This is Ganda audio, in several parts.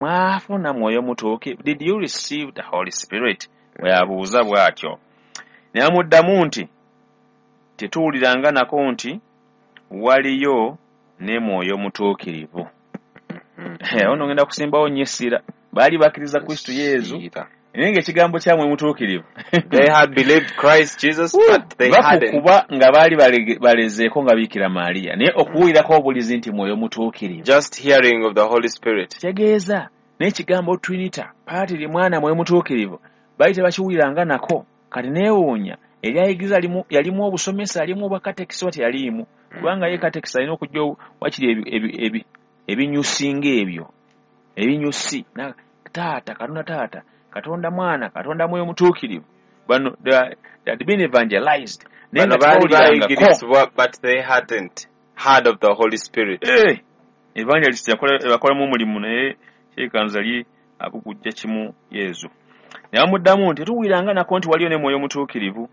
Mwafuna Mwoyo Mutuukirivu? Did you receive the Holy Spirit? Bwe yabuuza bw'atyo. Ne bamuddamu nti, tetuwuliranga nako nti waliyo ne Mwoyo Mutuukirivu. Ono ngenda kusimbawo nnyo essira. Baali bakkiriza Kristo Yesu, Either. naye ng'ekigambo kya Mwoyo Mutuukirivu They had believed Christ Jesus, but they hadn't. Bakukuba nga baali balezeeko nga Biikira Maria, naye okuwulirako obulizi nti Mwoyo Mutuukirivu. Just hearing of the Holy Spirit. Kitegeeza n'ekigambo Trinity, Paatiri, Mwana, Mwoyo Mutuukirivu, baali tebakiwuliranga nako. Kati neewuunya eryayigiriza yalimu obusomesa, yalimu obwakatekisi oba teyaliimu, kubanga ye katekisi alina okujja wakiri ebinyusi ng'ebyo, ebinyusi taata, Katonda taata, Katonda mwana, Katonda Mwoyo Mutuukirivu. Bano they had been evangelized, naye Bano nga baali tebawulirangako. bayigirizibwa, but they hadn't heard of the Holy Spirit. Evangelist yakolamu omulimu, naye kyekanza li abugujja kimu Yesu. Ne bamuddamu nti tetuwuliranga nako nti waliyo ne Mwoyo Mutuukirivu.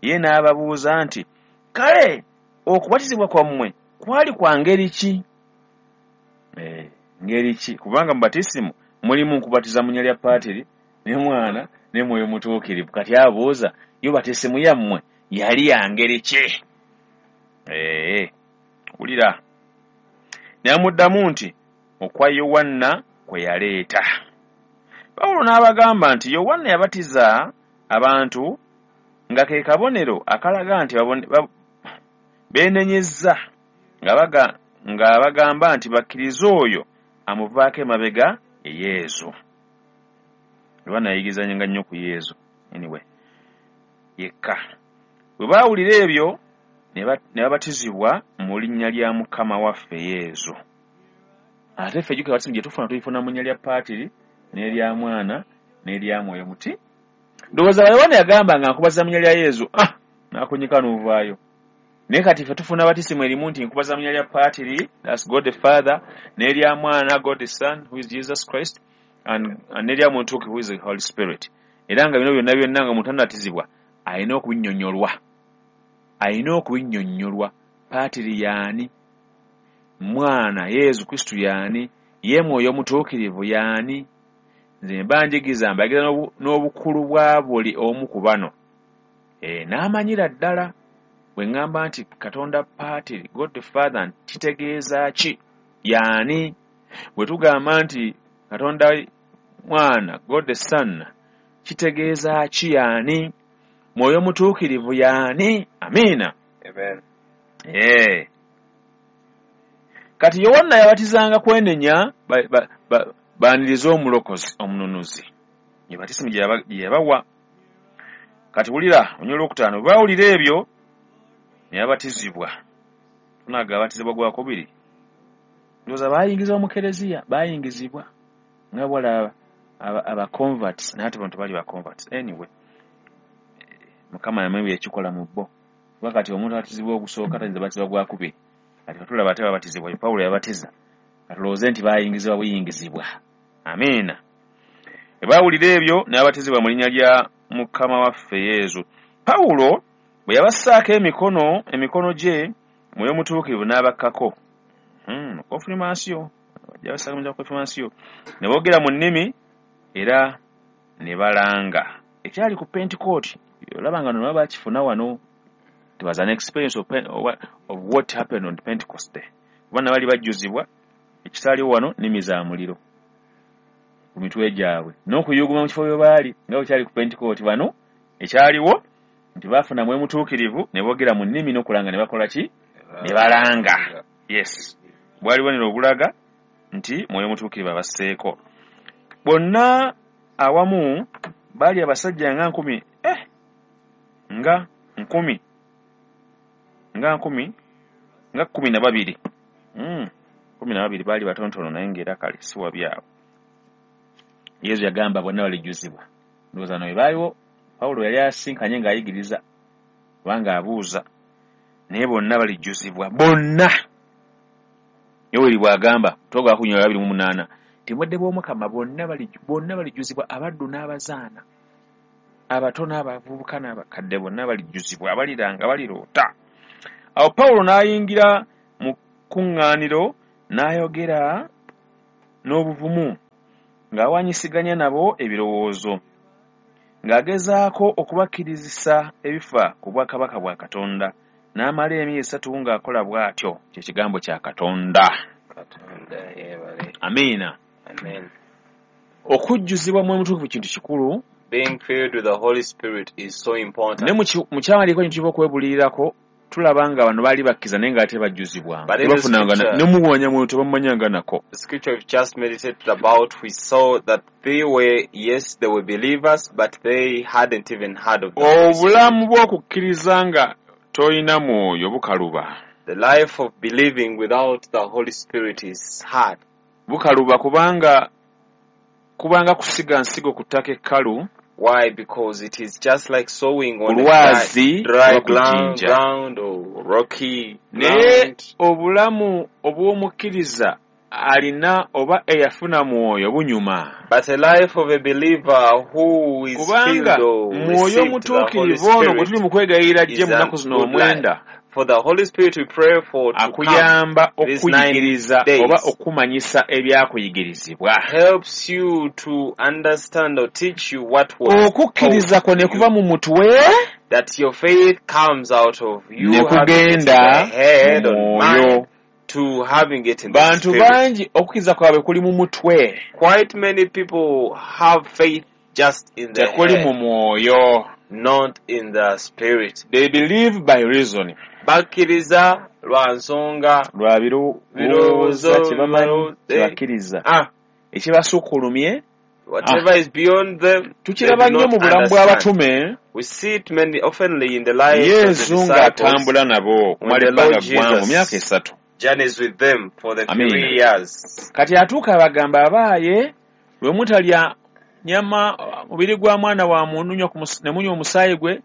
Ye n'ababuuza nti, kale okubatizibwa kwammwe kwali kwa ngeri ki? Ngeri ki? Kubanga mu batisimu mulimu nkubatiza mu linnya lya Paatiri ne Mwana ne Mwoyo Mutuukirivu. Kati abuuza, yo batisimu yammwe yali ya ngeri ki? Wulira. Ne bamuddamu nti, okwa Yowanna kwe yaleeta. Pawulo n'abagamba nti Yowanna yabatiza abantu nga ke kabonero akalaga nti beenenyezza, ng'abagamba nti bakkirize oyo amuvaako emabega ye Yesu. Yowanna yayigizanga nnyo ku Yesu. Anyway, yekka. Bwe baawulira ebyo ne babatizibwa mu linnya lya Mukama waffe Yesu. Ate ffe jjukira batisimu gye tufuna tuyifuna mu linnya lya Paatiri n'erya Mwana n'erya Mwoyo Muti. Ndowooza Yowanna yagamba nga nkubaza mu linnya lya Yesu, n'akunyika n'ovaayo. Naye kati ffe tufuna batisimu erimu nti nkubaza mu linnya lya Paatiri, that's God the Father, n'erya Mwana, God the Son, who is Jesus Christ, and n'erya Mwoyo Mutuukirivu, who is the Holy Spirit. Era nga bino byonna byonna nga omuntu anabatizibwa alina okubinnyonnyolwa. Alina okubinnyonnyolwa. Paatiri y'ani? Mwana Yesu Kristo y'ani? Ye Mwoyo Mutuukirivu y'ani? Nze mba njigiza mbagira n'obukulu bwa buli omu ku bano. N'amanyira ddala bwe ŋŋamba nti Katonda Paatiri, God the Father, kitegeeza ki? Y'ani? Bwe tugamba nti Katonda Mwana, God the Son, kitegeeza ki? Y'ani? Mwoyo Mutuukirivu y'ani? Amiina. Amen. Kati Yowanna yabatizanga kwenenya baanirize omulokozi, omununuzi. Ye batisimu gye yabawa. Kati wulira olunyiriri olwokutaano, bwe baawulira ebyo ne babatizibwa. Tunaga abatizibwa gwakubiri. Ndowooza baayingizibwa mu kereziya, baayingizibwa nga bw'olaba aba converts, naye ate bano tebali ba converts. Anyway, Mukama yamanyi bye yakikola mu bo. Kuba kati omuntu abatizibwa ogusooka tayinza batizibwa gwakubiri. Kati tulaba ate babatizibwa, Pawulo yabatiza. Katulowooze nti baayingizibwa buyingizibwa. Amiina. Bwe baawulira ebyo ne babatizibwa mu linnya lya Mukama waffe Yesu. Pawulo bwe yabassaako emikono gye, Mwoyo Mutuukirivu n'abakkako. Konfirmansiyo. Bajja konfirmansiyo. Ne boogera mu nnimi era ne balanga. Ekyali ku Pentecost, olaba nga nno bakifuna wano. It was an experience of what happened on Pentecost Day. Kubanga bali bajjuzibwa ekitaaliwo wano nnimi za muliro ku mitwe gyabwe n'okuyuguma mu kifo bwe baali nga bwe kyali ku Pentecost. Bano ekyaliwo nti baafuna Mwoyo Mutuukirivu ne boogera mu nnimi n'okulanga ne bakola ki? Ne balanga. Yes. Bwali bubonero obulaga nti Mwoyo Mutuukirivu abasseeko. Bonna awamu baali abasajja nga nkumi nga nkumi nga nkumi nga 12. 12 baali batonotono naye ng'era kale si wabi awo. Yesu yagamba bonna balijjuzibwa. Ndowooza no baaliwo Pawulo yali asinkanye ng'ayigiriza kubanga abuuza, naye bonna balijjuzibwa bonna. Yoweri bw'agamba toga 28 nti mudde bw'Omukama bonna balijjuzibwa, abaddu n'abazaana, abato n'abavubuka n'abakadde bonna balijjuzibwa, abaliranga baliroota. Awo Pawulo n'ayingira mu kuŋŋaaniro n'ayogera n'obuvumu, ng'awanyisiganya nabo ebirowoozo, ng'agezaako okubakkirizisa ebifa ku bwakabaka bwa Katonda, n'amala emyezi 3 ng'akola bw'atyo. Kye kigambo kya Katonda. Katonda yeebale. Amiina. Amen. Okujjuzibwa Mwoyo Mutukuvu kintu kikulu. Being filled with the Holy Spirit is so important. Ne mu kyawandiikibwa kino tuva okwebulirirako, tulaba nga bano baali bakkiriza naye nga tebajjuzibwanga. But in the Tebafunanga scripture, ne muwanya mwoyo tebamumanyanga nako. The scripture we've just meditated about, we saw that they were, yes, they were believers, but they hadn't even heard of the Holy Spirit. Obulamu bw'okukkiriza nga tolina mwoyo bukaluba. The life of believing without the Holy Spirit is hard. Bukaluba kubanga kusiga nsigo ku ttaka ekkalu. Why? Because it is just like sowing on a Olwazi dry oba ku jjinja. ground or rocky Naye ground. obulamu obw'omukkiriza alina oba eyafuna mwoyo bunyuma. But a life of a believer who is Kubanga filled or mwoyo received the Holy omutuukirivu ono gwe Spirit tuli mu kwegayirira ajje is mu a nnaku zino good 9, life. For the Holy Spirit we pray for to come akuyamba these 9 okukuyigiriza days. oba okumanyisa ebyakuyigirizibwa. Helps you to understand or teach you what was Okukkiriza taught kwo ne you. kuva mu mutwe That your faith comes out of you ne having it in kugenda the head mu or mwoyo. mind to having it in the Bantu spirit. bangi okukkiriza kwabwe kuli mu mutwe. Quite many people have faith just in the Tekuli head, mu mwoyo. not in the spirit. They believe by reason. Bakkiriza lwa nsonga Lwa birowooza birowoozo, kye bamanyi birowoozo, kye bakkiriza. Ekibasukkulumye, Whatever is beyond them, they tukiraba do nnyo not mu bulamu understand. bw'abatume. We see it many oftenly in the lives of the Yesu disciples. ng'atambula nabo okumala When the ebbanga Lord ggwanvu, Jesus myaka 3. journeys with them for the Amen. 3 years. Kati atuuka abagamba abaaye, bwe mutalya nyama mubiri gwa mwana wa muntu ne munywa omusaayi gwe,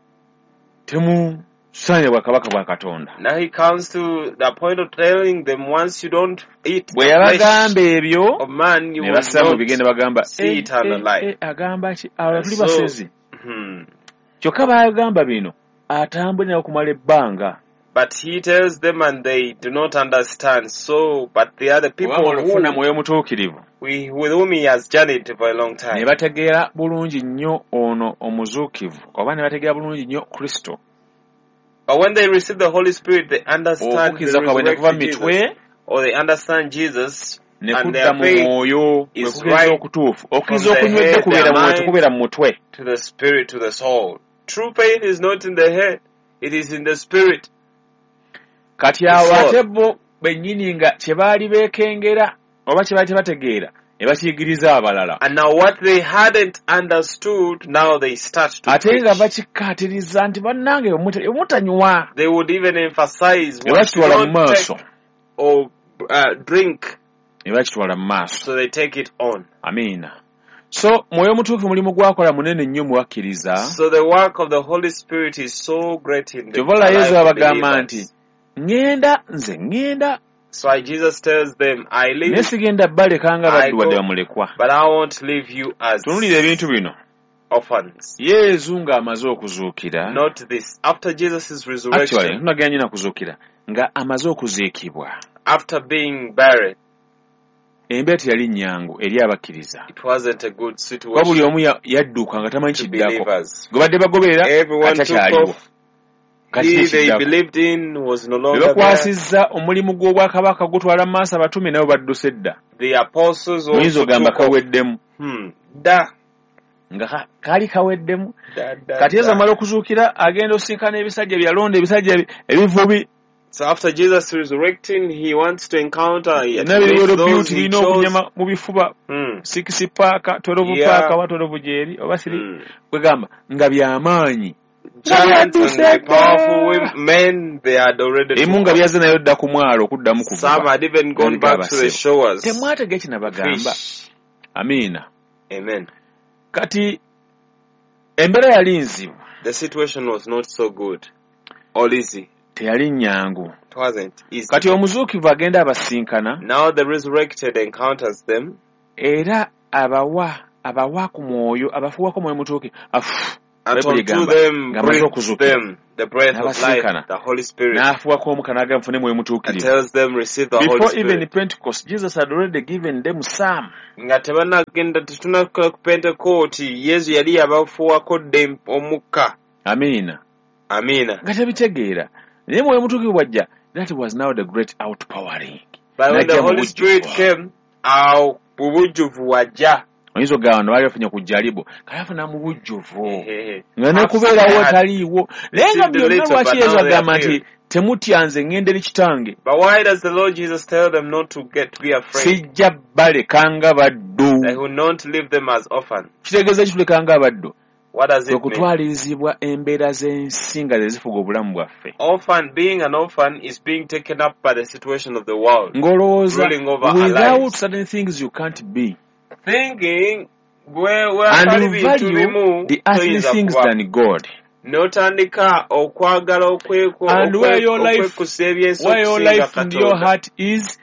temusaanira bwakabaka bwa Katonda. Now he comes to the point of telling them, once you don't eat Bwe the flesh yabagamba ebyo, of man, you ne will bassa mu not bigende bagamba, see eternal life. Agamba ki? Abalala tuli So, basezi. Kyokka baagamba bino, atambule nabo okumala ebbanga. But he tells them and they do not understand. So, but the other people Kubanga olufuna who mwoyo mutuukirivu. with whom he has journeyed for a long Ne time. bategeera bulungi nnyo ono omuzuukivu, oba ne bategeera bulungi nnyo Kristo. But when they receive the Holy Spirit, they understand the Okukkiriza kwabwe ne kuva mu resurrected mitwe, Jesus, or they understand Jesus, ne and kudda their mu faith mwoyo, kwe is kukkiriza right okutuufu. Okukkiriza from the okunywedde head, kubeera their mu mwoyo, mind, tekubeera mu mutwe. to the spirit, to the soul. True faith is not in the head, it is in the spirit. Kati The awo soul. ate bo bennyini nga kye baali beekengera oba kye baali tebategeera ne bakiyigiriza abalala. And now what they hadn't understood, now they start to Ate nga preach. bakikkaatiriza nti bannange mutanywa. They would even emphasize Ne once you bakitwala mu don't maaso. take or drink, Ne bakitwala mu maaso. so they take it on. Amiina. So mwoyo mutuufu mulimu gwakola munene nnyo mu bakkiriza. So the work of the Holy Spirit is so great in the Kyova olaba life Yesu of abagamba believers. nti ŋŋenda nze ŋŋenda So Jesus tells them, I naye leave, sigenda baleka nga I baddu wadde go, bamulekwa. but I won't leave you as Tunuulira ebintu bino. orphans. Yesu ng'amaze okuzuukira. Not this. After Jesus' Actually, resurrection, tunagenda nnyo na kuzuukira, nga amaze okuziikibwa. after being buried, Embeera teyali nnyangu eri abakkiriza. it wasn't a good Kuba buli situation omu yadduka nga tamanyi to kiddako. believers. Gwe badde bagoberera Everyone kati took takyaliwo. off. Kati He they kiddako. believed in was no Be longer there. bakwasizza omulimu gw'obwakabaka gutwala mu maaso abatume nabo badduse dda. The apostles Muyinza also ogamba took off. kaweddemu. Da, Nga kaali kaweddemu. da, da, Kati Yesu da. amala okuzuukira agenda osinkana ebisajja byalonda ebisajja ebivubi. So after Jesus resurrecting, he wants to encounter yet Byonna biri meet well those built, he birina chose. obunyama mu bifuba. 6 pack, 12 pack, oba 12 gyeri, oba 3. Kwegamba nga byamaanyi. Giants and the powerful men, they had already Emu nga byazze nayo dda ku mwalo okuddamu kuvuba. Some had even gone back to the shores. Temwatega ekinabagamba. Fish. Amiina. Amen. Kati embeera yali nzibu. The situation was not so good or easy. Teyali nnyangu. It wasn't easy. Kati omuzuukivu agenda abasinkana. Now the resurrected encounters them. Era abawa ku mwoyo, abafuuwako mwoyo mutuuke. Afu. And Bayibuli unto egamba them ng'amaze breathed okuzuukira them the breath of life, N'abasinkana. the Holy Spirit, N'afuwako omukka n'agamba mufune mwoyo and mutuukirivu. tells them, receive the Holy Before even Spirit. Pentecost, Jesus had already given them some. Nga tebannagenda tetunnatuuka ku Pentekooti, Yesu yali yabafuuwako dda omukka. Amiina. Amiina. Nga tebitegeera. Naye mwoyo mutuukirivu bw'ajja, that was now the great outpouring. But when the N'ajja mu Holy Spirit bujjuvu. came, awo mu bujjuvu wajja. Oyinza okugamba bano baali bafunye ku jjalibo, kale afuna mu bujjuvu. Ehehe. Nga n'okubeerawo Had taliiwo. Naye nga received a byonna little, lwaki but Yesu now they are agamba nti filled. temutya nze ŋŋenda eri kitange. But why does the Lord Jesus tell them not to get to be afraid? Sijja baleka nga baddu. That he will not leave them as orphans. Kitegeeza ki tuleka nga abaddu? What does Kwe it mean? kutwalirizibwa embeera z'ensi nga ze zifuga obulamu bwaffe. Orphan, being an orphan is being taken up by the situation of the world, Ng'olowooza ruling over our without lives. certain things you can't be. Thinking gwe And watali you bintu value bimu the earthly toyinza things kuba. than God. N'otandika okwagala And where your life, okwekusa ebyensi where your okusinga life and your Katonda. heart is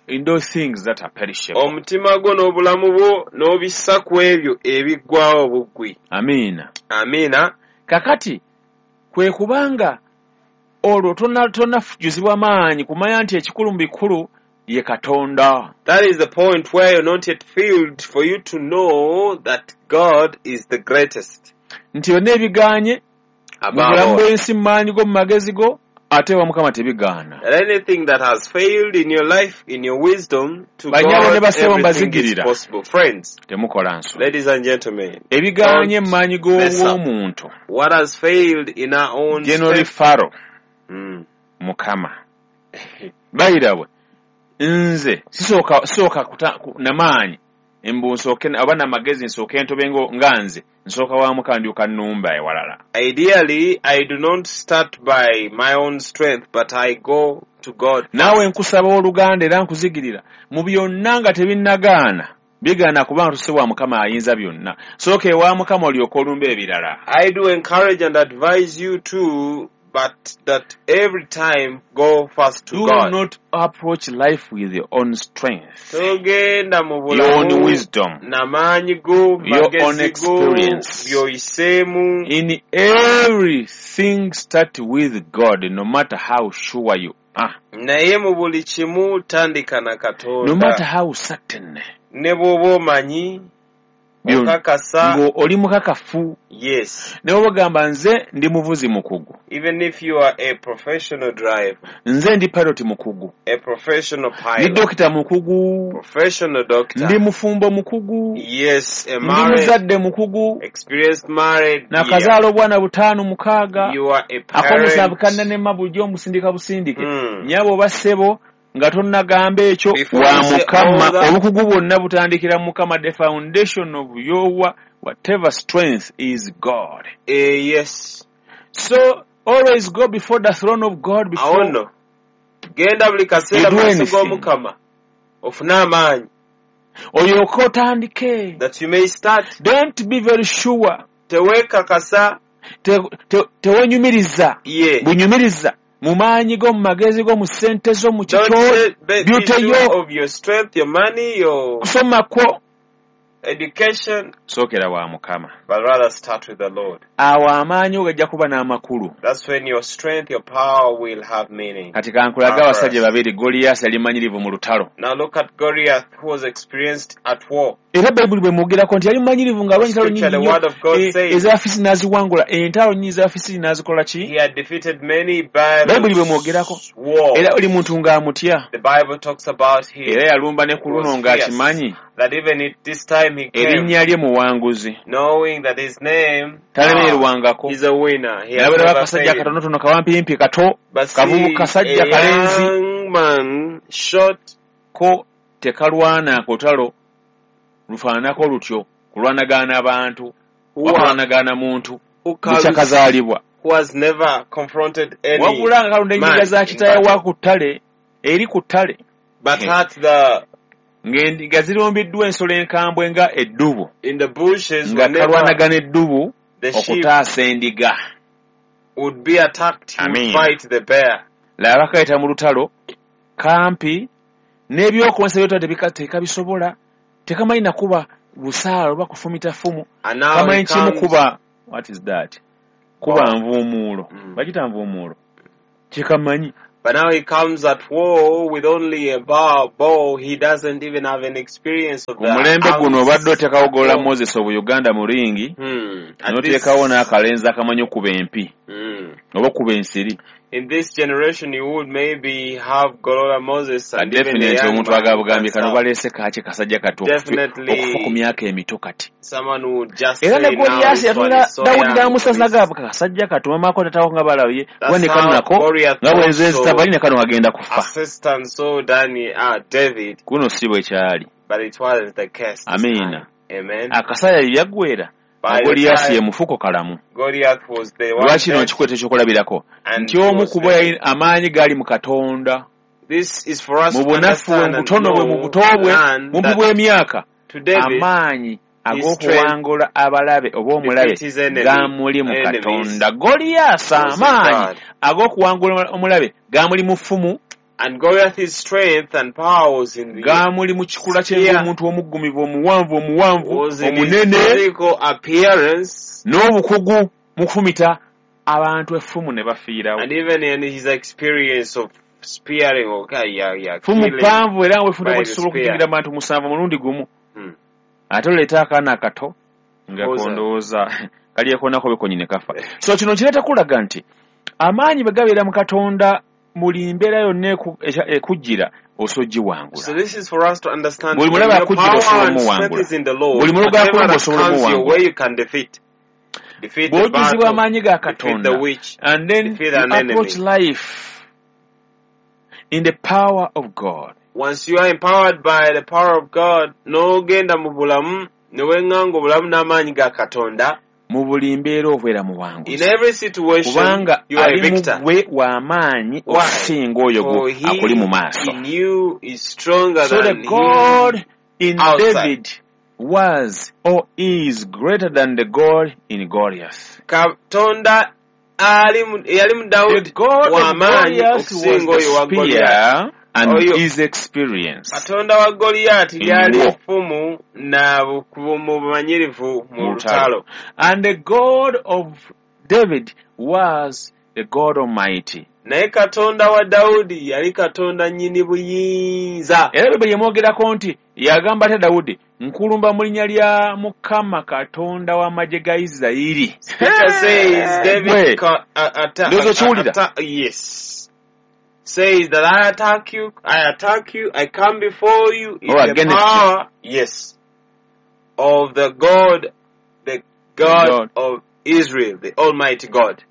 in those things that are perishable. Omutima gwo n'obulamu bwo n'obissa ku ebyo ebiggwawo obuggwi. Amiina. Amiina. Kakati kwe kubanga olwo tonnafujjuzibwa maanyi kumanya nti ekikulu mu bikulu ye Katonda. That is the point where you're not yet filled for you to know that God is the greatest Nti byonna ebigaanye mu above bulamu all. bw'ensi mu maanyi go mu magezi go ate ewa Mukama tebigaana. That anything that has failed in your life, in your wisdom, to Bannyabo ne God, bassebo everything is mbazigirira. possible. Friends, Temukola nsobi. ladies and gentlemen, Ebigaanye mu don't maanyi mess up. g'obw'omuntu. What has failed in our own General strength, Pharaoh Mukama. Bayirabwe nze sisooka na maanyi mbu nsooke oba namagezi nsooke ntobe nga nze nsooka wa Mukama ndyoka nnumba ewalala. Ideally, I do not start by my own strength, but I go to God Naawe first. nkusaba owooluganda era nkuzigirira mu byonna nga tebinnagaana bigaana kubanga tuse wa Mukama ayinza byonna. Sooka ewa Mukama olyoke olumbe ebirala. I do encourage and advise you too, but that every time go first to Do God. not approach life with your own strength, Togenda mu your own bulamu wisdom, n'amaanyi go, your own magezi go, experience. by'oyiseemu. In everything start with God, no matter how sure you are, Naye mu buli kimu tandika na no Katonda. matter how certain. Ne bw'oba omanyi, okakasa, Ng'oli mukakafu. yes. Ne bw'oba ogamba nze ndi muvuzi mukugu, Even if you are a professional driver, nze ndi pilot mukugu, a professional ndi pilot, dokita mukugu, professional ndi doctor, mufumbo mukugu, yes, a ndi married, muzadde mukugu, experienced married, yeah. nakazaala obwana 5 6, You are a ak'omusanvu parent. kannanema bulijjo omusindika busindike. Nnyabo oba ssebo nga tonnagamba ekyo Before wa you say all Mukama, that, obukugu bwonna butandikira mu Mukama. The foundation of your whatever strength is God. Yes. So always go before the throne of God Awo before nno genda buli you kaseera do mu maaso anything. g'Omukama ofune amaanyi Olyoke otandike. that you may start. Don't be very sure. Teweekakasa Tewenyumiriza. ye. Bunyumiriza mu maanyi go, mu magezi go, mu ssente zo, mu Don't kikyo, be beauty sure yo, of your strength, your money, your kusoma kwo. education, Sookera wa Mukama. but rather start with the Lord. Awo amaanyi go gajja kuba n'amakulu. That's when your strength, your power will have meaning. Kati kankulage abasajja Purpose. babiri. Goliyaasi yali manyirivu mu lutalo. Now look at Goliath, who was experienced at war. Era Bayibuli bwe mwogerako nti yali mumanyirivu ng'alwanya entalo Scripture, nnyingi the nnyo word of God says ez'Abafisiti n'aziwangula, entalo nnyingi ez'Abafisiti n'azikola ki? he had defeated many Bayibuli bwe mwogerako. battles, war. Era buli muntu ng'amutya. The Bible talks about him. Era yalumba ne ku He luno was fierce. ng'akimanyi That even at this time he came, erinnya lye muwanguzi. knowing that his name, Talemererwangako. he's a winner. He has Nabeera never akasajja failed. akatonotono kawampimpi kato But see, kavubu kasajja a kalenzi young man, short, ko tekalwana ku lutalo lufaananako lutyo kulwanagana abantu who, wakulwanagana muntu who, carries, bukyakazaalibwa. who has never confronted any Wabula nga kalonda enyiga man za in kitaawe wa battle, ku ttale eri ku ttale but at the ng'endiga zirumbiddwa ensolo enkambwe nga eddubu in the bushes nga whenever kalwanagana eddubu the sheep okutaasa endiga. would be attacked, he would Amiina. fight the bear. Laba kayita mu lutalo kampi n'ebyokulwanyisa by'olutalo tekabisobola tekamanyi nakuba Busaala oba kufumita ffumu. And now he Kamanyi kimu comes. Kuba what is that, kuba nvuumuulo. Bagita nvuumuulo, kyekamanyi. But now he comes at war with only a bow. He doesn't even have an experience of Ku the mulembe guno arms. obadde oteekawo Golola War. Moses obuyuganda mu ringi, At n'oteekawo this, n'akalenzi akamanyi okuba empi oba okuba ensiri. In this generation, you would maybe have Golola Moses and even a Definitely young omuntu man who agabugambye can kano start. baleese kaki kasajja kati Definitely, okufa ku myaka emito kati. someone who would just Era ne say, now Goliyaasi this one yatunula is so Dawudi young. n'amusaza This. gaba kasajja kati mamaako tatawo nga balabye kuba That's ne kano how nako Goliath nga bwenzezita also bali ne kano kagenda kufa. assistant saw David, Kuno si bwe kyali. but it wasn't the case this Amiina. time. Amen. Akasaya yaggwera nga By the Goliyaasi ye time mufuko kalamu. Goliath was the one Lwaki no dead nkikweta ekyokulabirako and nti he omu was ku bo living. yali amaanyi gaali mu Katonda. This is for us Mu to bunafu bwe, mu understand and butono bwe, mu know, buto bwe, learn bumpi that bw'emyaka, to David, amaanyi his strength ag'okuwangula abalabe oba omulabe defeat his enemy, gamuli mu enemies Katonda. Goliyaasi was in amaanyi God. ag'okuwangula omulabe gamuli mu ffumu, And Goliath, his strength and power was in the gamuli mu kikula kye spear, ng'omuntu omuggumivu, omuwanvu, omuwanvu, was in his omunene, physical appearance, n'obukugu mu kufumita abantu effumu ne bafiirawo. and even in his experience of spearing, okay, yeah, Ffumu killing ppanvu era nga bwefunda by bwe the tusobola spear. okujingira abantu 7 mulundi gumu. Ate oleeta akaana akato nga Oza. kondowooza kalyekoonako bekonyi ne kafa. So kino kireeta kulaga nti amaanyi bwe gabeera mu Katonda buli mbeera yonna ekujjira osobola ogiwangula. So this is for us to understand Buli when mulabe your akujjira power osobola and strength omuwangula. is in the Lord, Buli mulabe whatever akulumba that osobola comes your omuwangula. way, you can defeat. Defeat the Bw'ojjuzibwa battle, amaanyi ga defeat the Katonda witch, and then defeat you an enemy. approach life in the power of God. Once you are empowered by the power of God, n'ogenda mu bulamu, ne weŋŋanga obulamu n'amaanyi ga Katonda, Mu buli mbeera obeera in muwanguzi. every situation, Kubanga you are a ali mu victor. ggwe w'amaanyi Why? okusinga oyo For akuli mu he maaso. in you is stronger So the than he God in outside. David was or is greater than the God in Goliath. Katonda ali mu- eyali mu The Dawudi God of w'amaanyi Goliath was okusinga the oyo wa Goliath. spear and Oyo his experience Katonda wa Goliyaati in lyali war. effumu na mu bumanyirivu mu Mu lutalo. lutalo. And the God of David was the God Almighty. Naye Katonda wa Dawudi yali Katonda nnyini buyinza. Era Bayibuli emwogerako nti yagamba atya Dawudi, nkulumba mu linnya lya Mukama Katonda w'amagye ga Isirayiri. Scripture says David Gwe, ndowooza okiwulira? Yes. Says that I attack you, I attack you, I come before you in Oh, the against you. power, yes, of the God, the God God. of Israel, the Almighty God.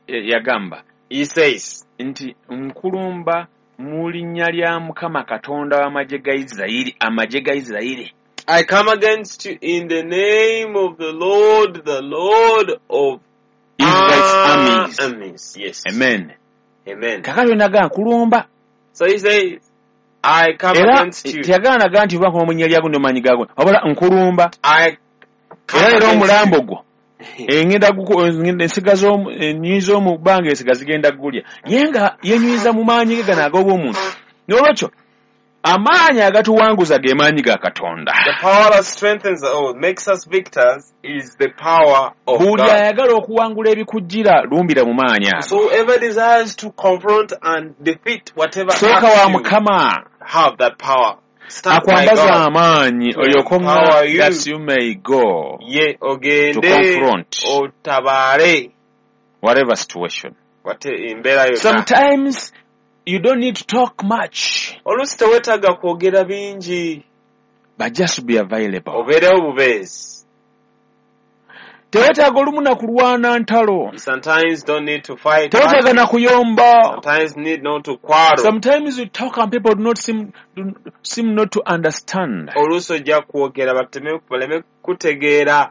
Yagamba He says, nti nkulumba mu linnya lya Mukama Katonda w'amagye ga Isirayiri, amagye ga Isirayiri. I come against you in the name of the Lord, the Lord of Israel's armies. armies. Yes. Amen. Amen. Kaakati naga nkulumba. So he says, I come Era against you. teyagaana ga nti oba nkuma mu linnya lyago n'amaanyi gago, wabula nkulumba. I come Era leero against omulambo you. gwo engenda ensiga z'omu ennyonyi z'omu bbanga ensiga zigenda gulya. Ye nga yenyumiza mu maanyi ge gano ag'obw'omuntu. N'olwekyo amaanyi agatuwanguza ge maanyi ga Katonda. The power that strengthens or makes us victors is the power of Buli God. ayagala okuwangula ebikujjira lumbira mu maanyi ago. So whoever desires to confront and defeat whatever Sooka acts wa you, Mukama have that power. Start by akwambaza God amaanyi to olyoke empower you. that you may go Ye to ogende confront otabaale whatever situation. wate embeera yonna. Sometimes you don't need to talk much, Oluusi teweetaaga kwogera bingi, but just be available. obeerewo bubeezi. Teweetaaga olumu na kulwana ntalo. You sometimes don't need to fight Teweetaaga battles. na kuyomba. Sometimes need not to quarrel. Sometimes you talk and people do not seem, do, seem not to understand. Oluusi ojja kwogera baleme kutegeera.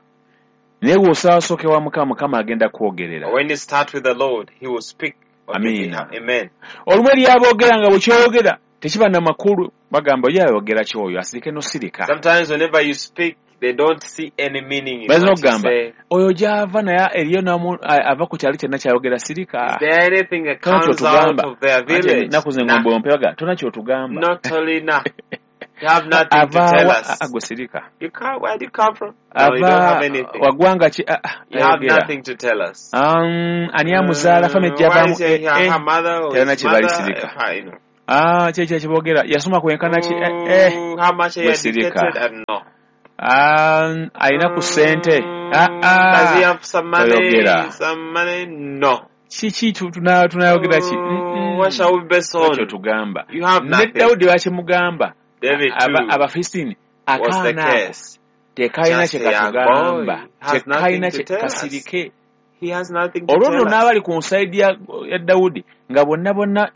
Naye bw'osaasooka ewa Mukama, Mukama agenda kwogerera. When you start with the Lord, He will speak on your Amiina. behalf. Amen. Olumu eri aboogera nga bwe kyogera tekiba na makulu, bagamba ye ayogera ki oyo asirike n'osirika. Sometimes whenever you speak, they don't see any meaning in Bayinza what you okugamba say. oyo gy'ava naye eriyo ava ku kyalo kyonna kyayogera sirika. Is there anything that Tolina comes out ky'otugamba. of their Anti village? ennaku zino Nah. engombe ompe baga tolina ky'otugamba. Not only nah. You have nothing to tell Avaawa? us. Gwe sirika. You can't, where do you come from? No, you don't Ava have anything. waggwanga ki? Ah, ah, You have tayogera. nothing to tell us. Ani amuzaala, family Why gyavaamu? is he her mother or Terina his kye mother? balisirika. I know. Ah, ki ekyo kyeboogera, yasoma kwenkana ki? Eh, eh. How much are you Gwe sirika. educated? I don't know. Alina ku ssente? Ah, Does he ah. have some money? Toyogera. Some money? No. Kiki tunayogera ki? What shall we base Ekyo on? tugamba You have ne nothing. Dawudi bakimugamba. David too Abafilisitiini, was the akaana ako case. tekalina Just kye a young katugamba, boy has tekalina nothing to kye tell us. kasirike. He has nothing to Olwo nno tell us. n'abali ku nsaidi ya Dawudi nga bonna bonna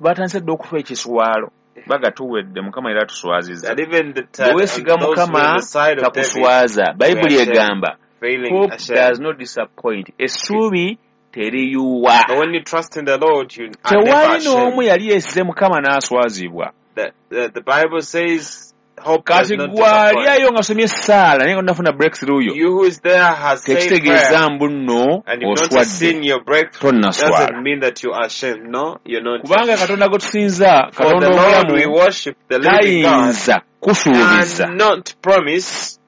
batandise dda okufa ekiswalo, bagatuwedde, Mukama era atuswazizza. That even the Bwe weesiga those who were on Mukama the side of David takuswaza. Bayibuli were ashamed, egamba feeling hope ashamed. does not disappoint, essuubi teriyuwa. But when you trust in the Lord, you are never Tewali n'omu ashamed. yali yeesize Mukama n'aswazibwa. The Bible says hope does Kati not gwe ali disappoint. ayo nga somye essaala naye nga tonafuna breakthrough yo, You who is there has said prayer tekitegeeza mbu nno and you've not oswadde. seen your breakthrough Tonnaswala, doesn't mean that you are ashamed. No, you're not. kubanga Katonda gwe tusinza, For the Katonda Lord we omulamu, worship, the living God, tayinza kusuubiza cannot promise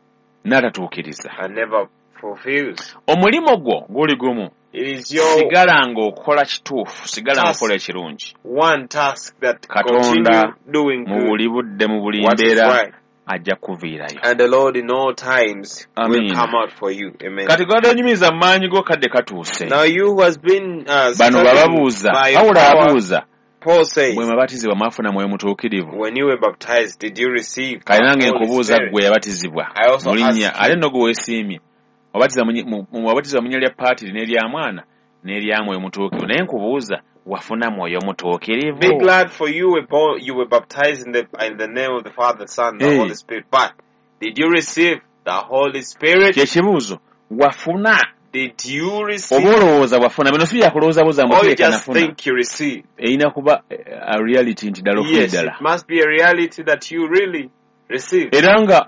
n'atatuukiriza. and never fulfills. Omulimu gwo guli gumu: It is your sigala ng'okola kituufu, sigala task, ng'okola ekirungi. one task, that Katonda continue doing mu good, buli budde, mu buli what is mbeera, right. ajja kuviirayo. And the Lord in all times will Amiina. come out for you. Amen. Kati gwada onyumiza mu maanyi go, kadde katuuse. Now you who has been Bano struggling bababuuza, by your Pawulo power, abuuza, Paul bwe says, mwabatizibwa mwafuna Mwoyo Mutuukirivu? when you were baptized, did you receive Kale the nange Holy nkubuuza, Spirit? ggwe yabatizibwa I also mu linnya, ask ate you, nno gwe weesiimye, wabatiza mu linnya lya paatiri n'erya Mwana n'erya Mwoyo Mutuukirivu, naye nkubuuza, wafuna Mwoyo be Mutuukirivu? glad, for you were born, you were baptized in the name of the Father, Son, and the Eh. Holy Spirit. But did you receive the Holy Spirit? Kyekibuuzo, wafuna Did you oba receive? olowooza wafuna? Bino si byakulowooza buza Or you muteeka just nafuna. think you received? Erina kuba a reality nti ddala ofuna Yes, ddala. it must be a reality that you really received. Era nga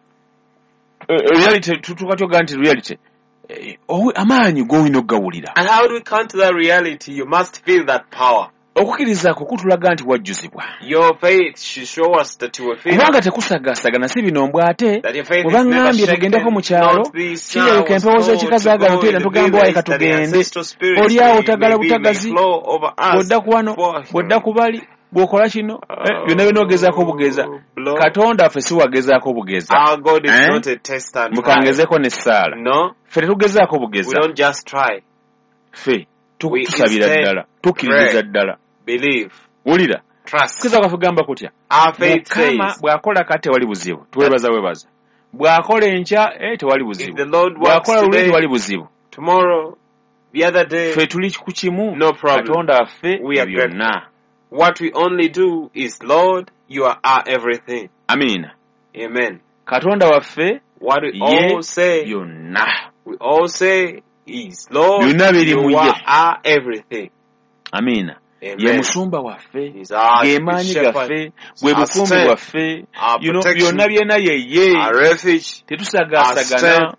reality tutuuka tyoga nti reality, amaanyi g'olina okugawulira. And how do we come to that reality? You must feel that power. Okukkiriza kwo kutulaga nti wajjuzibwa, Your faith should show us that you were filled. kubanga tekusagaasagana, si bino mbw ate That your faith bwe is never baŋŋambye tugendeko shaken. mu kyalo, Not this now kirabika was empewo told z'ekika to zaagala go in oteera the tugamba wayi village that the katugende. ancestral spirits Oli awo may, otagala may be, may butagazi, flow over us. bw'odda ku wano, For bw'odda ku bali, bw'okola kino, byonna byonna ogezaako bugeza. Oh, blow. Katonda waffe si wagezaako bugeza. Our God is Eh? not a test and try. Mukangezeko n'essaala, No, ffe tetugezaako we bugeza. don't just try. Ffe We tusabira instead ddala, tukkiririza pray, ddala. believe, Wulira, trust. kukkiriza kwaffe kugamba kutya? Our faith Mukama says bw'akola kati tewali buzibu, tuwebaza webaza. Bw'akola enkya, tewali if buzibu. the Lord works Bw'akola luli, today, tewali buzibu. tomorrow, the other day, Ffe tuli ku kimu, no problem. Katonda waffe We are grateful. byonna. What we only do is, Lord, you are our everything. Amiina. Amen. Katonda waffe What we ye all say, byonna, we all say is, Lord, byonna biri mu you ye. are our everything. Amiina. Ye Amen. musumba waffe, He's our ge good maanyi shepherd, gaffe, bwe our bukuumi strength, bwaffe, our you know, byonna protection, byena yeye. our refuge, our Tetusagaasagana. strength,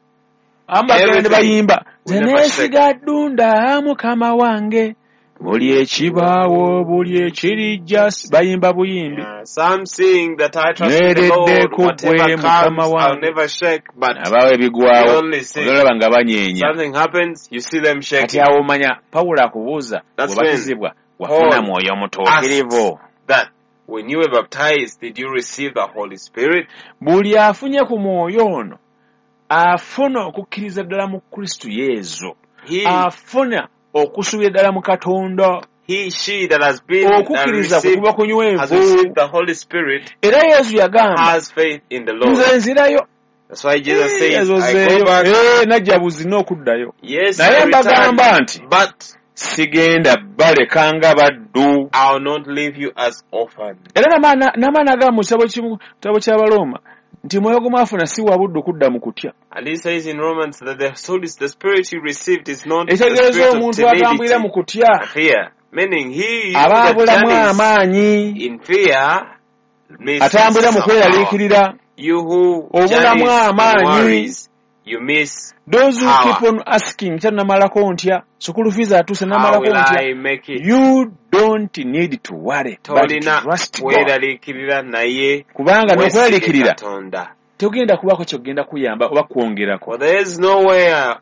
Abamu bagenda ne everything. bayimba, We nze never shake. neesiga Ddunda Mukama wange, buli ekibaawo, buli ekirijja, bayimba buyimbi. Yeah, some sing that I trust in the Nyweredde Lord, ku gwe whatever Mukama comes, I'll wange. never shake. But Abaawo we ebigwawo, only sing. olaba nga banyeenya. Something happens, you see them Kati shaking. awo omanya Pawulo akubuuza, That's when bwebatizibwa wafuna Paul Mwoyo asks Mutuukirivu? that when you were baptized, did you receive the Holy Spirit? Buli afunye ku mwoyo ono afuna okukkiriza ddala mu Kristo Yesu, He, afuna okusuubira ddala mu Katonda. he, she that has been that Okukkiriza kwe received kuba has kunywevu. received the Holy Spirit Era Yesu yagamba, has faith in the Lord. nze nzirayo. That's why Jesus says, Ezo I go zeeyo. back. Najja buzina okuddayo, Yes, naye I return, mbagamba nti but sigenda baleka nga baddu. I will not leave you as orphans. Era n'amaana agamba mu kitabo kitabo ky'Abalooma nti mwoyo gwe mwafuna si wa buddu kudda mu kutya. And he says in Romans that the soul is the spirit you received is not the Ekitegeeza spirit of omuntu atambulira mu timidity, kutya fear. Meaning he aba that abulamu journeys amaanyi, in fear misses atambulira mu some power. kweraliikirira, You who obulamu journeys in amaanyi. worries, You miss Those who power. keep on asking, kya namalako ntya, school fees atuuse How namalako will ntya. I make it? You don't need to worry, but Tolina trust God. kweraliikirira naye Kubanga weesige n'okweraliikirira Katonda. togenda kubaako kyogenda kuyamba oba kwongerako. For there is nowhere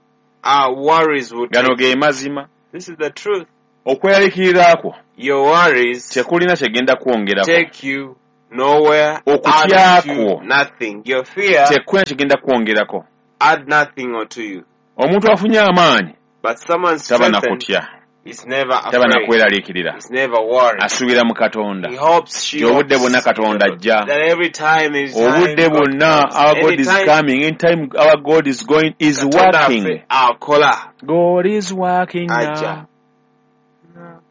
our worries will Gano take. ge mazima. This is the truth. Okweraliikirira kwo Your worries tekulina kyegenda kwongerako. take you nowhere, Okutya add to kwo nothing. Your fear tekulina kyegenda kwongerako. add nothing unto you. Omuntu afunye amaanyi But someone taba na strengthened kutya, is never taba na afraid, kweraliikirira, is never worried. asuubira mu Katonda. He hopes, she Nti obudde bwonna hopes Katonda ajja. that every time is time Obudde God bwonna comes. our God is Anytime coming, anytime our God is going is Katonda working. affe akola God is working ajja. now.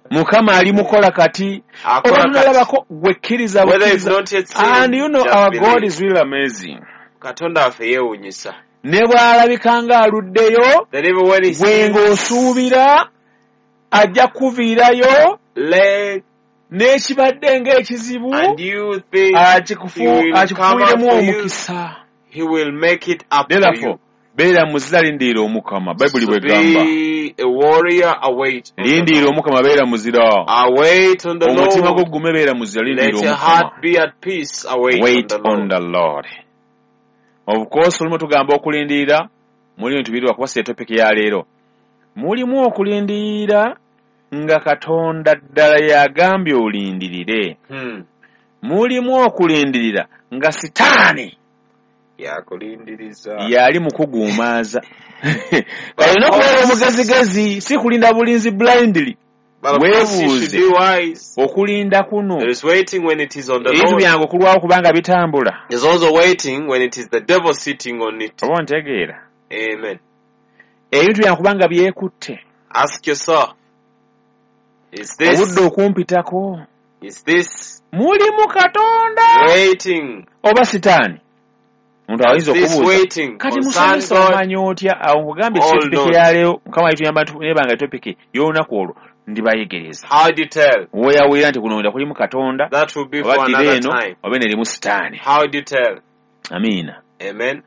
Mukama ali mukola kati. Oba Akola kati. tunalabako gwe kkiriza Whether it's bukkiriza. not yet And seen, you know just our God believe. is really amazing. Katonda waffe yeewuunyisa. Ne bw'alabika ng'aluddeyo, That even when he gwe sees ng'osuubira ajja kuviirayo late n'ekibadde ng'ekizibu and you think he will come out akikufuiremu for you, omukisa. he will make it up for Therefore, you. beera muzira lindirira Omukama. Bayibuli So bw'egamba. be a warrior, await on the Lindirira Lord. Omukama, beera muzira. Await on the Omutima gwo Lord. gume, beera muzira, Let lindirira your Omukama. heart be at peace, await on Wait the on Lord. the Lord. Of course, olumu tugamba okulindirira, mulimu ebintu biri wakuba si topic ya leero. Mulimu okulindirira nga Katonda ddala yagambye olindirire. Mulimu okulindirira nga Sitaani Yakulindiriza. yali mu kuguumaaza. Kale olina okubeera omugezigezi, si kulinda bulinzi blindly. But of course you should Weebuuze be wise. okulinda kuno. There is waiting when it is on the Ebintu Lord. byange okulwawo kubanga bitambula. There's also waiting when it is the devil sitting on it. Oba ontegeera? Amen. Ebintu byange kubanga byekutte. Ask yourself, is Obudde this, okumpitako. is this Mulimu Katonda waiting? oba Sitaani? Omuntu Is ayinza this okubuuza. waiting Kati concern musomesa God omanyi otya? Awo nkugambye si or topiki not? ya leero. Mukama yituyamba nebanga topiki y'olunaku olwo ndibayegereza. How do you tell? Weeyawulira nti kuno kulimu Katonda That will be oba for ddira another eno time. oba eno erimu Sitaani. How do you tell? Amiina. Amen.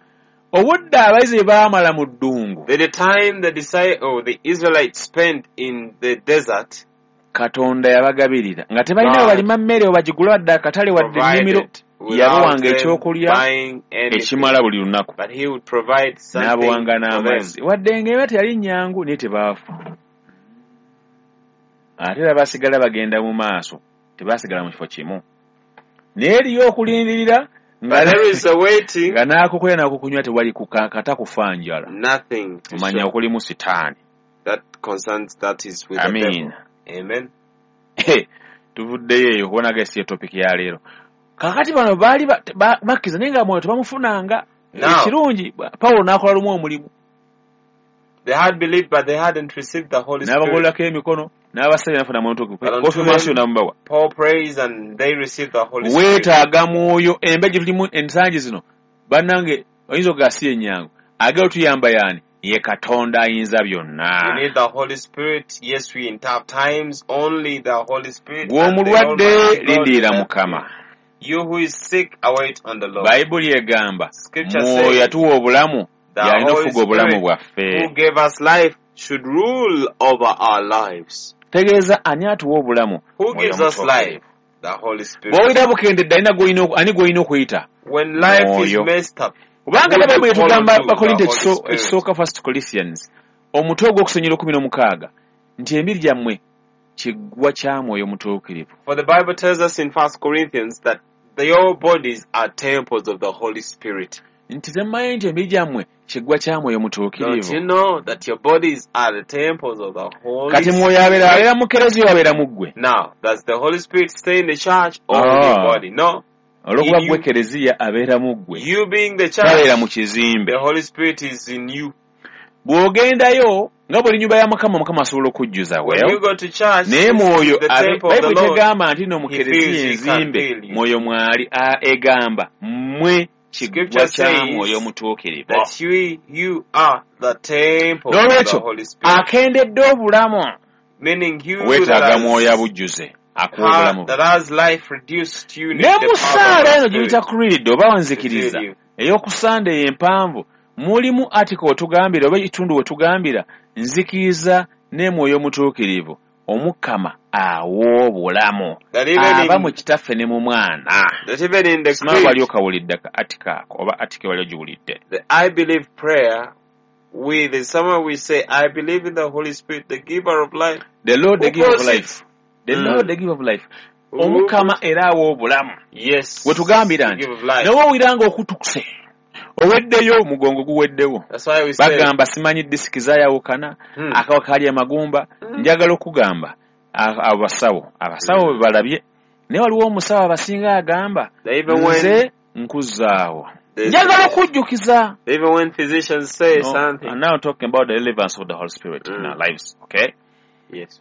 Obudde abayizi bwe baamala mu ddungu, That the time the disciple, the Israelites spent in the desert, Katonda yabagabirira nga tebalina we God balima mmere we bagigula wadde akatale wadde ennimiro, provided without yabawanga them ekyokulya buying anything. ekimala buli lunaku, But he would provide something n'abawanga for them. n'amazzi. Wadde ng'eba teyali nnyangu naye tebaafa. Ate era basigala bagenda mu maaso, tebaasigala mu kifo kimu. Naye eriyo okulindirira nga But there is a waiting, nga n'akukulya n'akukunywa tewali kata kufa njala. nothing to Omanya show okulimu Sitaani. that concerns that is with the devil. Amiina. Amen. Tuvuddeyo eyo kubona si topic ya leero. Kaakati bano baali bakkiriza naye nga mwoyo tebamufunanga. Now, Ekirungi Pawulo n'akola lumu omulimu. they had believed, but they hadn't received the Holy Spirit. N'abagololako emikono n'abasabye n'afuna mwoyo But unto konfirmation them, n'amubawa. Paul prays and they received the Holy Spirit. Weetaaga mwoyo embeera gye tulimu ensangi zino bannange oyinza okugamba si ennyangu. Agenda otuyamba y'ani? Ye Katonda ayinza You byonna. need the Holy Spirit. Yes, we in tough times only the Holy Spirit Gwe and the omulwadde Almighty God will lindirira help you. Mukama. You who is sick, await on the Lord. Bayibuli egamba Scripture mwoyo says yatuwa obulamu the y'alina Holy okufuga obulamu Spirit bwaffe. who gave us life should rule over our lives. Tegeeza ani atuwa obulamu? Who Mwoyo gives us Mutuukirivu. life? The Holy Spirit. Bw'owulira bukendedde alina ani gw'olina okuyita? When life is Mwoyo. messed up, Kubanga who ne do you Bayibuli call etugamba unto? The Bakorinto Holy Spirit. ekisooka First Corinthians omutwe ogw'okusonyera 16 nti emibiri gyammwe kiggwa kya Mwoyo Mutuukirivu. For the Bible tells us in 1 Corinthians that your bodies are temples of the Holy Spirit. Nti temmanyi nti emibiri gyammwe kiggwa kya Mwoyo Don't Mutuukirivu. you know that your bodies are the temples of the Holy Kati Mwoyo abeera Spirit? abeera mu kereziya abeera mu ggwe. Now, does the Holy Spirit stay in the church or in your body? No. Olw'okuba In ggwe you. kereziya abeera mu ggwe. You being the Tabeera mu church, kizimbe. the Holy Spirit is in you. Bw'ogendayo nga bw'oli nnyumba ya Mukama, Mukama asobola okujjuza When well. you go to church, Naye this is mwoyo the temple of the Bayibuli Lord. tegamba nti no mu He kereziya feels, he can enzimbe feel you. mwoyo mwali egamba mmwe kiggwa Scripture kya Mwoyo says Mutuukirivu. that you are the temple of the N'olwekyo Holy Spirit. akendedde obulamu Meaning you that weetaaga has, mwoyo abujjuze akuwa obulamu that has life reduced, you need Ne the mu power of ssaala the eno gye Spirit buyita creed oba to nzikiriza fill you. ey'okusanda eyo empanvu Mulimu article wetugambira oba ekitundu wetugambira nzikiriza ne Mwoyo Mutuukirivu Omukama awa obulamu aba mu Kitaffe ne mu Mwana. That even in the Simanyi wali creed, okawulidde ka article ako oba article wali ogiwulidde. the I believe prayer, there's somewhere we say, I believe in the Holy Spirit, the giver of life. The Lord, the Who giver of calls life. it? The Lord, the giver of life. Who Omukama era awa obulamu. Yes. Wetugambira The nti giver of life. nawe owulira ng'okutukuse oweddeyo omugongo guweddewo. That's why we say, Bagamba simanyi disiki zaayawukana akawa kaali amagumba. Njagala okugamba abasawo bwe balabye naye waliwo omusawo abasinga agamba that even when nze nkuzzaawo. there's- Njagala okujjukiza. even when physicians say No, something. I'm now talking about the relevance of the Holy Spirit in our lives, okay? Yes.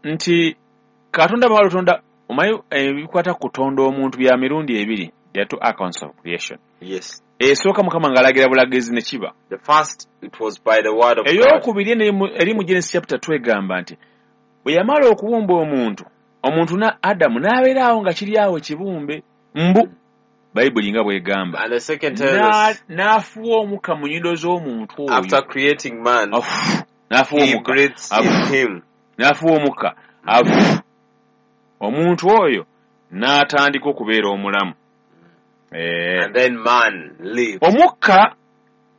Nti Katonda bw'amala otonda omanyi ebikwata ku kutonda omuntu bya mirundi ebiri. There are two accounts of creation. Yes. Esooka Mukama ng'alagira bulagizi ne kiba. The first, it was by the word of God. Ey'okubiri eno eri mu Genesis chapter 2 egamba nti bwe yamala okubumba omuntu na Adamu n'abeera awo nga kiri awo ekibumbe mbu Bayibuli nga bw'egamba. And the second tells us, N'afuwa omukka mu nnyindo z'omuntu oyo. after creating man, Afu, n'afuwa he omukka. breathes in him. N'afuwa omukka. Afu. Omuntu oyo n'atandika okubeera omulamu. And then man lived. Omukka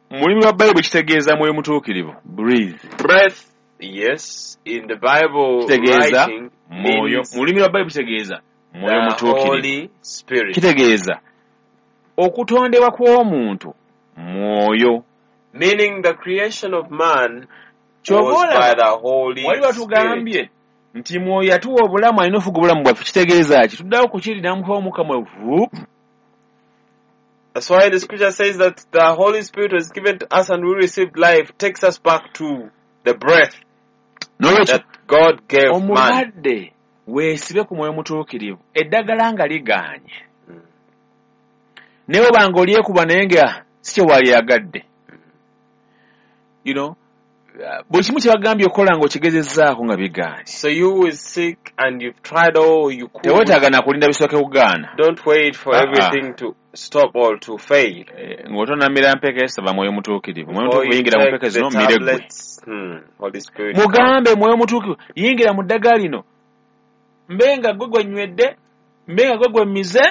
mu lulimi lwa Bayibuli kitegeeza Mwoyo Mutuukirivu. Breathe. Breath, yes, in the Bible Kitegeeza writing Mwoyo. means Mu lulimi lwa Bayibuli kitegeeza Mwoyo the Mutuukirivu. Holy Spirit. Kitegeeza okutondebwa kw'omuntu mwoyo. Meaning the creation of man Ky'oba was by olaba the Holy wali Spirit. watugambye nti mwoyo yatuwa obulamu alina ofuga obulamu bwaffe kitegeeza ki? Tuddawo ku kiri n'amukuba omukka mwe vuup. That's why the scripture says that the Holy Spirit was given to us and we received life, takes us back to the breath N'olwekyo that God gave man. omulwadde weesibe ku Mwoyo Mutuukirivu eddagala nga ligaanye. Naye oba ng'olyekuba naye nga si kye walyagadde. You know, buli kimu kye bagambye okukola ng'okigezezzaako nga bigaanye. So you who is sick and you've tried all you could, Teweetaaga na kulinda bisooke kugaana. don't wait for everything to stop or to fail. Ng'otonamira mpeke saba Mwoyo Mutuukirivu. Mwoyo Before Mutuukirivu you yingira mu take mpeke the zino mmire ggwe. tablets, Holy Spirit, come. Mugambe Mwoyo Mutuukirivu yingira mu ddagala lino mbe nga gwe gwe nywedde mbe nga gwe gwe mmize.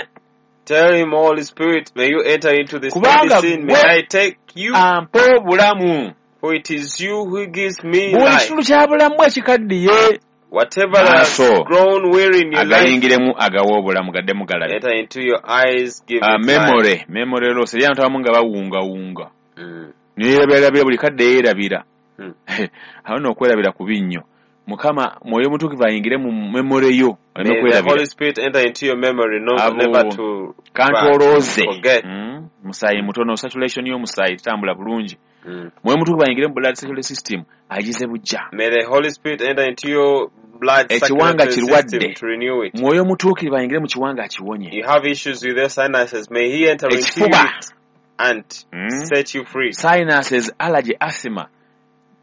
Tell him, Holy Spirit, may you enter into this Kubanga medicine. May gwe I take you, ampa obulamu. for it is you who gives me Buli life. kitundu kya bulamu ekikaddiye Whatever has Maaso grown weary in your life, agayingiremu agawa obulamu gaddemu galabe. enter into your eyes, give it life. Memory loss eri abantu abamu nga bawungawunga. Neerabirabira buli kadde yeerabira. Awo nno okwerabira kubi nnyo. Mukama Mwoyo Mutuukirivu ayingire mu memory yo oleme May the kwerabira. Holy Spirit enter into your memory, Abo never to kantolooze. forget. Musaayi mutono, saturation y'omusaayi tetambula bulungi. Mwoyo Mutuukirivu ayingire mu blood circulatory system agize bujja. May the Holy Spirit enter into your blood Ekiwanga circulatory kirwadde. system to renew it. Mwoyo Mutuukirivu ayingire mu kiwanga akiwonye. You have issues with your sinuses. May he enter into Ekifuba. it and set you free. Sinuses, allergy, asthma.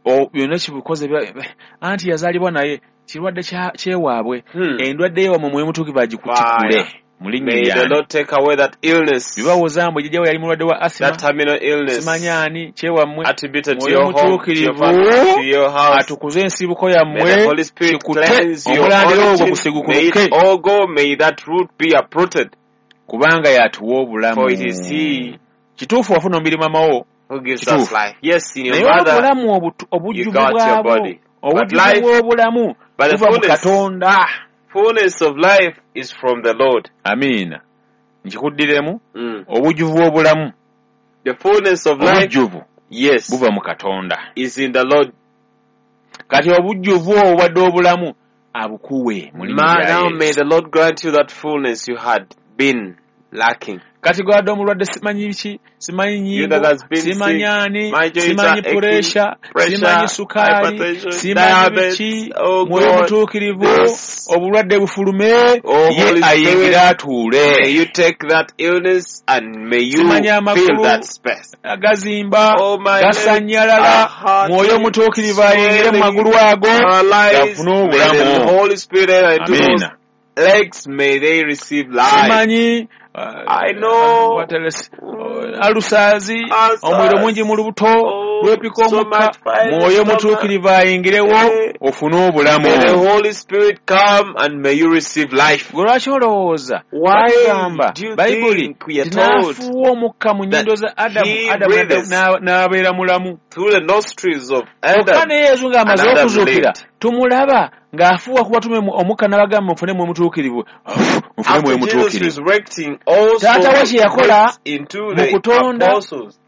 Byonna kibikoze anti yazaalibwa naye kirwadde kyewaabwe. Endwadde yewammwe Mwoyo Mutuukirivu agikutikule mu linnya May the lyange. Lord take away that illness, Bibawoza mbu jjajja we yali mulwadde wa asthma, that terminal illness simanyi ani kyewammwe. attributed to Mwoyo your home, to your Mutuukirivu family, to your house. atukuze ensibuko May the yammwe Holy Spirit kikute cleanse your omulandira ogwo origin. May gusigukuruke it all go. May that root be uprooted. kubanga y'atuwa obulamu. For it is he Kituufu wafuna omubiri mama wo who gives us Kituufu. life. Yes, in your naye mother, obulamu you obujjuvu got your bwabwo body. But obujjuvu life, bw'obulamu but the buva mu Katonda. fullness of life is from the Lord. Amiina. Nkikuddiremu obujjuvu bw'obulamu The fullness of life, obujjuvu yes, buva mu Katonda. is in the Lord. Kati obujjuvu obwo obwadde obulamu abukuwe mu linnya lya Now Yesu. may the Lord grant you that fullness you had been lacking. Kati gwadde omulwadde simanyi biki, simanyi You that nnyingo, has been simanyi sick, ani, my joints simanyi are aching, puresha, pressure, simanyi sukaali, hypertension, simanyi diabetes, biki, oh Mwoyo God, Mutuukirivu, this. obulwadde bufulume, Oh, ye Holy ayingire Spirit, atuule. may you take that illness and may you Simanyi fill amagulu that space. agazimba, Oh, my legs gasannyalala, are hurting, Mwoyo Mutuukirivu ayingire mu swelling, magulu ago, paralyzed. gafune May the obulamu. Holy Spirit enter into those Amiina. legs, may they receive life. Simanyi I know. what else? Ulcers, Ulcers. omuliro mungi mu lubuto, Oh, lwepika so omukka, much fire in the mwoyo stomach. mutuukirivu ayingirewo Eh. ofune obulamu. May the Holy Spirit come and may you receive life. Gwe lwaki olowooza Why batugamba do you bayibuli think we are nti told n'afuuwa omukka mu nnyindo za Adamu, he Adamu breathes n'abeera mulamu. through the nostrils of Kyokka Adam ne Yesu ng'amaze and Adam okuzuukira lived. tumulaba ng'afuuwa ku batume omukka n'abagamba mufune mwe mutuukirivu, mufune mwe After Jesus mutuukirivu. resurrecting, also Taata we kye yakola breathed into mu the kutonda apostles.